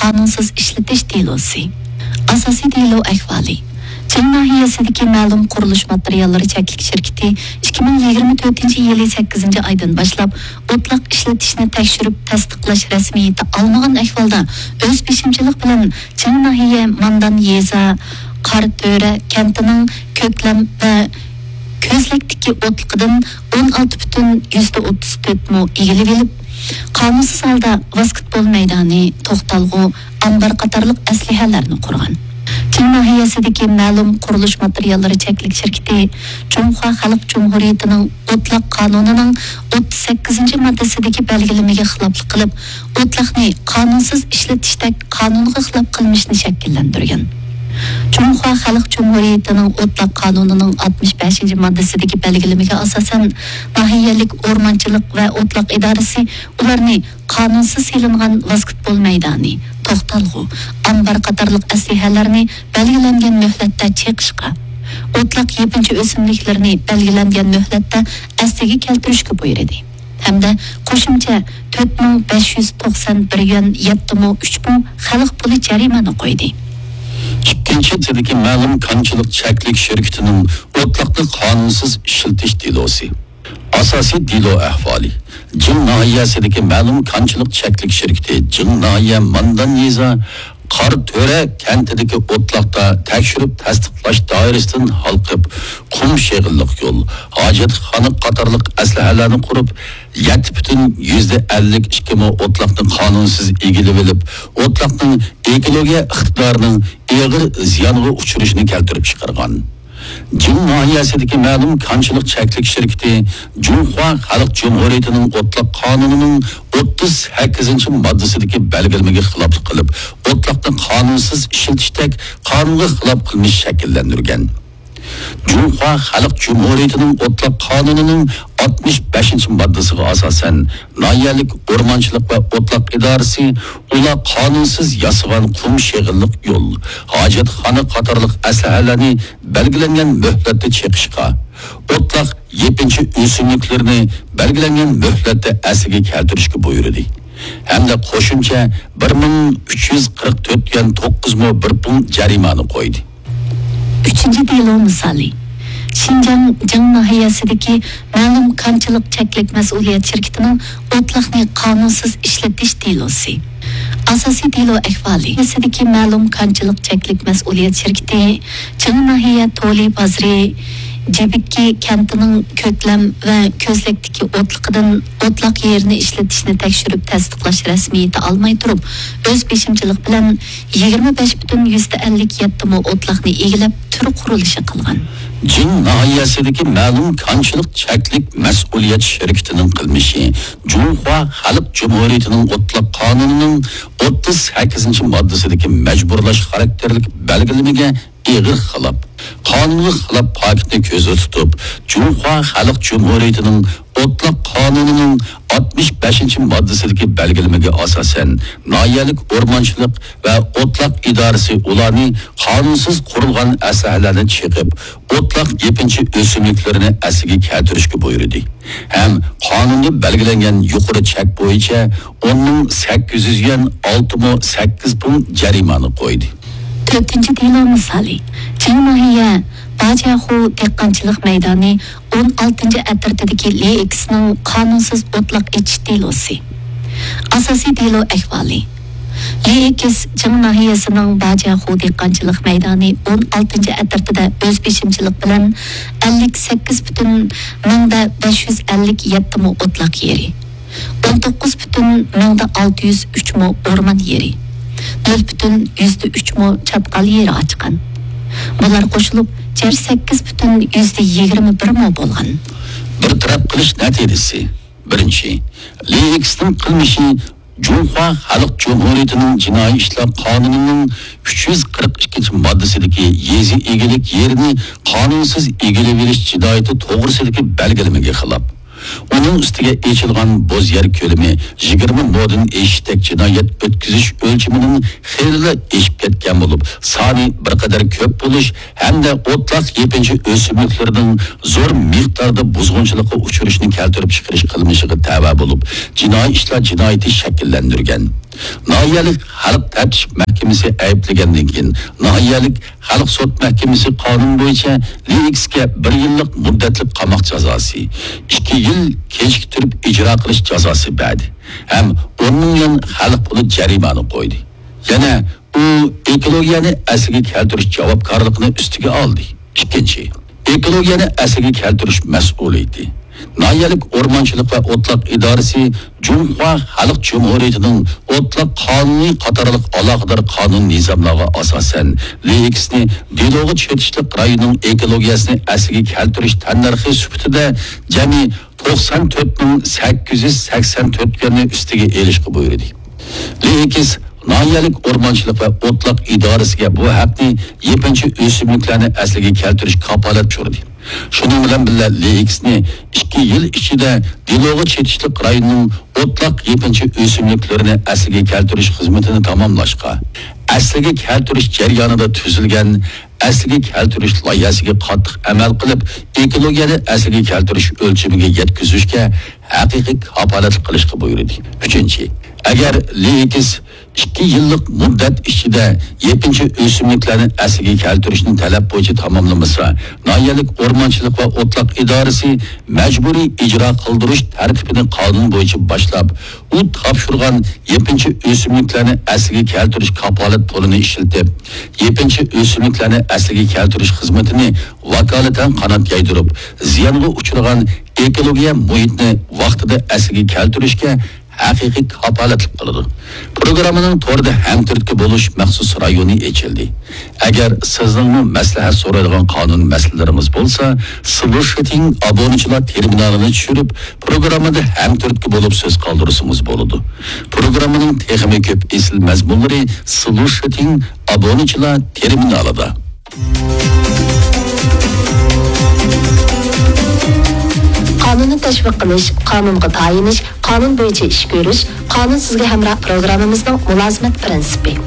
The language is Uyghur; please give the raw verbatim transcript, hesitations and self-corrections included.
قانۇنسىز ئىشلىتىش دېلوسى. ئاساسىي دېلو ئەھۋالى. چىڭ ناھىيەسىدىكى مەلۇم قۇرۇلۇش ماتېرىياللىرى چەكلىك شىركىتى ئىككى مىڭ يىگىرمە تۆتىنچى يىلى سەككىزىنچى ئايدىن باشلاپ ئوتلاق ئىشلىتىشنى تەكشۈرۈپ تەستىقلاش رەسمىيىتى ئالمىغان ئەھۋالدا ئۆز بېشىمچىلىق بىلەن چىڭ ناھىيە ماندان يېزا قاراتۆرە كەنتىنىڭ كۆكلەم ۋە كۆزلەكتىكى ئوتلىقىدىن ئون ئالتە پۈتۈن يۈزدە ئوتتۇز تۆت مو ئىگىلىۋېلىپ، قانۇنسىز ھالدا ۋاسكېتبول مەيدانى، توختالغۇ، ئامبار قاتارلىق ئەسلىھەلەرنى قۇرغان. چىڭ ناھىيەسىدىكى مەلۇم قۇرۇلۇش ماتېرىياللىرى چەكلىك شىركىتى جۇڭخۇا خەلق جۇمھۇرىيىتىنىڭ ئوتلاق قانۇنىنىڭ ئوتتۇز سەككىزىنچى ماددىسىدىكى بەلگىلىمىگە خىلاپلىق قىلىپ، ئوتلاقنى قانۇنسىز ئىشلىتىشتەك قانۇنغا خىلاپ قىلمىشنى شەكىللەندۈرگەن. جۇڭخۇا خەلق جۇمھۇرىيىتىنىڭ ئوتلاق قانۇنىنىڭ ئاتمىش بەشىنچى ماددىسىدىكى بەلگىلىمىگە ئاساسەن، ناھىيەلىك ئورمانچىلىق ۋە ئوتلاق ئىدارىسى ئۇلارنى قانۇنسىز سېلىنغان ۋاسكېتبول مەيدانى، توختالغۇ، ئامبار قاتارلىق ئەسلىھەلەرنى بەلگىلەنگەن مۆھلەتتە چېقىشقا، ئوتلاق يېپىنچا ئۆسۈملۈكلىرىنى بەلگىلەنگەن مۆھلەتتە ئەسلىگە كەلتۈرۈشكە بۇيرۇدى. ھەمدە قوشۇمچە تۆت مىڭ بەش يۈز توقسان بىر يۈەن يەتتە مو ئۈچ مو خەلق پۇلى جەرىمانە قويدى. ئىككىنچى، تىدىكى مەلۇم كانچىلىق چەكلىك شىركىتىنىڭ ئوتلاقنى قانۇنسىز ئىشلىتىش دېلوسى. ئاساسىي دېلو ئەھۋالى. جىڭ ناھىيەسىدىكى مەلۇم كانچىلىق چەكلىك شىركىتى جىڭ ناھىيە ماندان يېزا قارا تۆرە كەنتىدىكى ئوتلاقتا تەكشۈرۈپ تەستىقلاش دائىرىسىدىن ھالقىپ، قۇم شېغىللىق يول، ھاجەتخانا قاتارلىق ئەسلىھەلەرنى قۇرۇپ، يەتتە پۈتۈن يۈزدە ئەللىك ئىككى مو ئوتلاقنى قانۇنسىز ئىگىلىۋېلىپ، ئوتلاقنىڭ ئېكولوگىيە ئىقتىدارىنىڭ ئېغىر زىيانغا ئۇچرىشىنى كەلتۈرۈپ چىقارغان. جىڭ ناھىيەسىدىكى مەلۇم كانچىلىق چەكلىك شىركىتى جۇڭخۇا خەلق جۇمھۇرىيىتىنىڭ ئوتلاق قانۇنىنىڭ ئوتتۇز سەككىزىنچى ماددىسىدىكى بەلگىلىمىگە خىلاپلىق قىلىپ، ئوتلاقنى قانۇنسىز ئىشلىتىشتەك قانۇنغا خىلاپ قىلمىش شەكىللەندۈرگەن. جۇڭخۇا خەلق جۇمھۇرىيىتىنىڭ ئوتلاق قانۇنىنىڭ ئاتمىش بەشىنچى ماددىسىغا ئاساسەن، ناھىيەلىك ئورمانچىلىق ۋە ئوتلاق ئىدارىسى ئۇلار قانۇنسىز ياسىغان قۇم شېغىللىق يول، ھاجەتخانا قاتارلىق ئەسلىھەلەرنى بەلگىلەنگەن مۆھلەتتە چېقىشقا، ئوتلاق يېپىنچا ئۆسۈملۈكلىرىنى بەلگىلەنگەن مۆھلەتتە ئەسلىگە كەلتۈرۈشكە بۇيرۇدى ھەمدە قوشۇمچە بىر مىڭ ئۈچ يۈز قىرىق تۆت يۈەن توققۇز مو بىر پۇڭ جەرىمانە قويدى. ئۈچىنچى دېلو مىسالى. شىنجاڭ جىڭ ناھىيەسىدىكى مەلۇم كانچىلىق چەكلىك مەسئۇلىيەت شىركىتىنىڭ ئوتلاقنى قانۇنسىز ئىشلىتىش دېلوسى. ئاساسىي دېلو ئەھۋالى. ناھىيەسىدىكى مەلۇم كانچىلىق چەكلىك مەسئۇلىيەت شىركىتى جىڭ ناھىيە تولى بازىرى جىبىككى كەنتىنىڭ كۆكلەم ۋە كۆزلەكتىكى ئوتلىقىدىن ئوتلاق يېرىنى ئىشلىتىشنى تەكشۈرۈپ تەستىقلاش رەسمىيىتى ئالماي تۇرۇپ، ئۆز بېشىمچىلىق بىلەن يىگىرمە بەش پۈتۈن يۈزدە ئەللىك يەتتە مو ئوتلاقنى ئىگىلەپ، تۈر قۇرۇلۇشى قىلغان. جىڭ ناھىيەسىدىكى مەلۇم كانچىلىق چەكلىك مەسئۇلىيەت شىركىتىنىڭ قىلمىشى جۇڭخۇا خەلق جۇمھۇرىيىتىنىڭ ئوتلاق قانۇنىنىڭ ئوتتۇز سەككىزىنچى ماددىسىدىكى مەجبۇرلاش خاراكتېرلىك بەلگىلىمىگە ئېغىر خىلاپ، قانۇنغا خىلاپ پاكىتنى كۆزدە تۇتۇپ، جۇڭخۇا خەلق جۇمھۇرىيىتىنىڭ ئوتلاق قانۇنىنىڭ ئاتمىش بەشىنچى ماددىسىدىكى بەلگىلىمىگە ئاساسەن، ناھىيەلىك ئورمانچىلىق ۋە ئوتلاق ئىدارىسى ئۇلارنى قانۇنسىز قۇرۇلغان ئەسلىھەلەرنى چېقىپ، ئوتلاق يېپىنچا ئۆسۈملۈكلىرىنى ئەسلىگە كەلتۈرۈشكە بۇيرۇدى ھەم قانۇندا بەلگىلەنگەن يۇقىرى چەك بويىچە ئون مىڭ سەككىز يۈز يۈەن، ئالتە مو سەككىز پۇڭ جەرىمانە قويدى. تۆتىنچى دېلو مىسالى. جىڭ ناھىيە باجياخۇ دېھقانچىلىق مەيدانى ئون ئالتىنچى ئەترىتىدىكى لېئېكسنىڭ قانۇنسىز ئوتلاق ئېچىش دېلوسى. ئاساسىي دېلو ئەھۋالى. لېئېكس جىڭ ناھىيەسىنىڭ باجياخۇ دېھقانچىلىق مەيدانى ئون ئالتىنچى ئەترىتىدە ئۆز بېشىمچىلىق بىلەن ئەللىك سەككىز پۈتۈن مىڭدە بەش يۈز ئەللىك يەتتە مو ئوتلاق يېرى، ئون توققۇز پۈتۈن مىڭدە ئالتە يۈز ئۈچ مو ئورمان يېرى، نۆل پۈتۈن يۈزدە ئۈچ مو چاتقال يېرى ئاچقان. بۇلار قوشۇلۇپ، جەمئىي سەككىز پۈتۈن يۈزدە يىگىرمە بىر مو بولغان. بىر تەرەپ قىلىش نەتىجىسى. بىرىنچى، لېئېكسنىڭ قىلمىشى جۇڭخۇا خەلق جۇمھۇرىيىتىنىڭ جىنايى ئىشلار قانۇنىنىڭ ئۈچ يۈز قىرىق ئىككىنچى ماددىسىدىكى يېزا ئىگىلىك يېرىنى قانۇنسىز ئىگىلىۋېلىش جىنايىتى توغرىسىدىكى بەلگىلىمىگە خىلاپ. ئۇنىڭ ئۈستىگە ئېچىلغان بوز يەر كۆلىمى يىگىرمە مودىن ئېشىشتەك جىنايەت ئۆتكۈزۈش ئۆلچىمىنىڭ خېلىلا ئېشىپ كەتكەن بولۇپ، سانى بىر قەدەر كۆپ بولۇش ھەمدە ئوتلاق يېپىنچا ئۆسۈملۈكلىرىنىڭ زور مىقداردا بۇزغۇنچىلىققا ئۇچرىشىنى كەلتۈرۈپ چىقىرىش قىلمىشىغا تەۋە بولۇپ، جىنايى ئىشلار جىنايىتى شەكىللەندۈرگەن. ناھىيەلىك خەلق تەپتىش مەھكىمىسى ئەيىبلىگەندىن كېيىن، ناھىيەلىك خەلق سوت مەھكىمىسى قانۇن بويىچە لېئېكسكە بىر يىللىق مۇددەتلىك قاماق جازاسى، ئىككى يىل كېچىكتۈرۈپ ئىجرا قىلىش جازاسى بەردى ھەم ئون مىڭ يۈەن خەلق پۇلى جەرىمانە قويدى. يەنە ئۇ ئېكولوگىيەنى ئەسلىگە كەلتۈرۈش جاۋابكارلىقىنى ئۈستىگە ئالدى. ئىككىنچى، ئېكولوگىيەنى ئەسلىگە كەلتۈرۈش مەسئۇلىيىتى. ناھىيەلىك ئورمانچىلىق ۋە ئوتلاق ئىدارىسى جۇڭخۇا خەلق جۇمھۇرىيىتىنىڭ ئوتلاق قانۇنى قاتارلىق ئالاقىدار قانۇن نىزاملارغا ئاساسەن، لېئېكسنى دېلوغا چېتىشلىق رايوننىڭ ئېكولوگىيەسىنى ئەسلىگە كەلتۈرۈش تەننەرخى سۈپىتىدە جەمئىي توقسان تۆت مىڭ سەككىز يۈز سەكسەن تۆت يۈەننى ئۈستىگە ئېلىشقا بۇيرۇدى. لېئېكس ناھىيەلىك ئورمانچىلىق ۋە ئوتلاق ئىدارىسىگە بۇ ھەقنى يېپىنچا ئۆسۈملۈكلەرنى ئەسلىگە كەلتۈرۈش كاپالەت چورىدى. شۇنىڭ بىلەن بىللە، لېئېكسنى ئىككى يىل ئىچىدە دېلوغا چېتىشلىق رايوننىڭ ئوتلاق يېپىنچا ئۆسۈملۈكلىرىنى ئەسلىگە كەلتۈرۈش خىزمىتىنى تاماملاشقا، ئەسلىگە كەلتۈرۈش جەريانىدا تۈزۈلگەن ئەسلىگە كەلتۈرۈش لايىھەسىگە قاتتىق ئەمەل قىلىپ، ئېكولوگىيەنى ئەسلىگە كەلتۈرۈش ئۆلچىمىگە يەتكۈزۈشكە ھەقىقىي كاپالەتلىك قىلىشقا بۇيرۇدى. ئۈچىنچى، ئەگەر لېئېكس ئىككى يىللىق مۇددەت ئىچىدە يېپىنچا ئۆسۈملۈكلەرنى ئەسلىگە كەلتۈرۈشنى تەلەپ بويىچە تاماملىمىسا، ناھىيەلىك ئورمانچىلىق ۋە ئوتلاق ئىدارىسى مەجبۇرىي ئىجرا قىلدۇرۇش تەرتىپىنى قانۇن بويىچە باشلاپ، ئۇ تاپشۇرغان يېپىنچا ئۆسۈملۈكلەرنى ئەسلىگە كەلتۈرۈش كاپالەت پۇلىنى ئىشلىتىپ، يېپىنچا ئۆسۈملۈكلەرنى ئەسلىگە كەلتۈرۈش خىزمىتىنى ۋاكالىتەن قانات يايدۇرۇپ، زىيانغا ئۇچرىغان ئېكولوگىيە مۇھىتنى ۋاقتىدا ئەسلىگە كەلتۈرۈشكە ھەقىقىي كاپالەتلىك قىلىدۇ. پروگراممىنىڭ توردا ھەمتۈرتكە بولۇش مەخسۇس رايونى ئېچىلدى. ئەگەر سىزنىڭمۇ مەسلىھەت سورايدىغان قانۇن مەسىلىلىرىڭىز بولسا، سلۇشىتىڭ ئابۇنىچىلار تېرمىنالىنى چۈشۈرۈپ، پروگراممىدا ھەمتۈرتكە بولۇپ سۆز قالدۇرسىڭىز بولىدۇ. پروگراممىنىڭ تېخىمۇ كۆپ ئېسىل مەزمۇنلىرى سلۇشىتىڭ ئابۇنىچىلار تېرمىنالىدا. قانۇننى تەشۋىق قىلىش، قانۇنغا تايىنىش، قانۇن بويىچە ئىش كۆرۈش، قانۇن سىزگە ھەمراھ پروگراممىمىزنىڭ مۇلازىمەت پىرىنسىپى.